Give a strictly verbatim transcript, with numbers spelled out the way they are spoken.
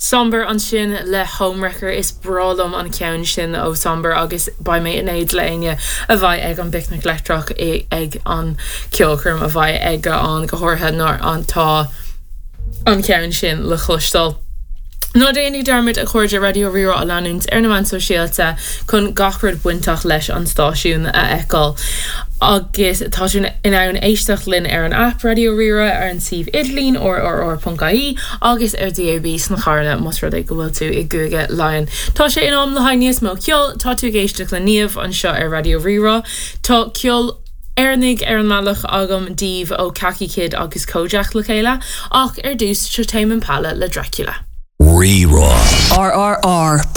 Somber ansin le Homewrecker is breá liom an ceann sin ó Somber agus beidh mé in éad le éinne a bheidh ag an bPicnic Leictreach ag an ceolchoirm a bheidh ag an go háirithe nuair atá an ceann sin le cloisteáil. Ná déanaigí dearmad a chairde Raidió Rí-Rá a leanúint ar na meáin sóisialta chun gach rud bainteach leis an stáisiún a fheiceáil. Agus tá tú in ann éisteacht linn ar an app Raidió Rí-Rá ar an suíomh idirlín rrr.ie agus ar DAB sna carranna más rud é go bhfuil tú i gCúige Laighean. Tá sé in am le haghaidh níos mó ceol tá tú ag éisteacht le Niamh anseo ar Raidió Rí-Rá Tá ceol Éireannach ar an mbealach agam daoibh ó Khaki Kid agus Kojaque le chéile ach ar dtús seo Tame Impala le Dracula. Rí-Rá. RRR.